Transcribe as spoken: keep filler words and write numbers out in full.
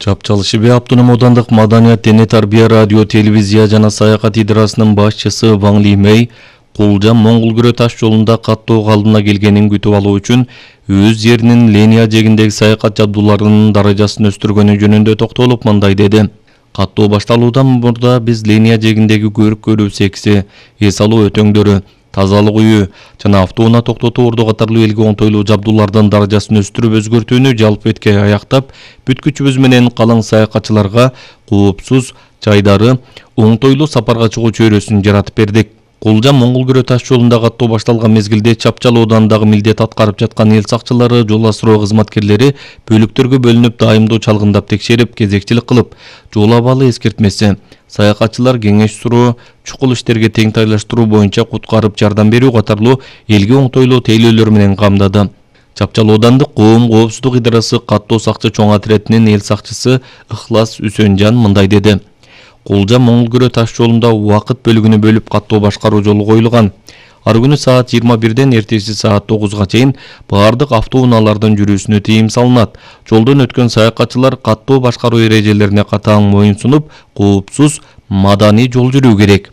Чапчал Шибе Автоном аудандык маданият, дене тарбия, радио, телевизия жана саякат идарасынын башчысы Ван Ли Мэй Кулжам Моңгул-Күрө таш жолунда каттоо калдына келгенин күтүп алуу үчүн өз жеринин линия жегиндеги саякат жабдууларынын даражасын өстүргөнү жөнүндө токтолуп мындай деди. Каттоо башталуудан мурда биз линия жегиндеги көрүк көрүү секси, эс алуу өтөңдөрү, тазалык үйү жана автоунаа токтотуу орду катарлуу элге оңтойлуу жабдуулардын даражасын өстүрүп өзгөртүүнү жалпы этке аяктап, бүткүчүбүз менен калың саякатчыларга коопсуз, жайдары, оңтойлуу сапарга чыгуу чөйрөсүн жаратып бердик. Кулжам Моңгул-Күрө таш жолунда каттоо башталган мезгилде Чапчал аудандагы милдет аткарып жаткан эл сакчылары, жол асыроо кызматкерлери бөлүктөргө бөлүнүп дайымдуу чалгындап текшерип, кезекчилик кылып, жол абалы эскертмеси, саякатчылар кеңеш суроо, чукул иштерге тең тайлаштыруу боюнча куткарып жардам берүү катарлуу элге оңтойлуу тейлөөлөр менен камдады. Чапчал аудандык коом коопсуздук идарасы каттоо сакчы чоң отретинин эл сакчысы Ыхлас Үсөнжан мындай деди. Кулжам Моңгул-Күрө таш жолунда убакыт бөлүгүнө бөлүп каттоо башкаруу жолу коюлган. Ар күнү саат жыйырма бирден эртеси саат тогузга чейин баардык автоунаалардын жүрүүсүнө тыйым салынат. Жолдон өткөн саякатчылар каттоо башкаруу эрежелерине катаң моюн сунуп, коопсуз, маданий жол жүрүү керек.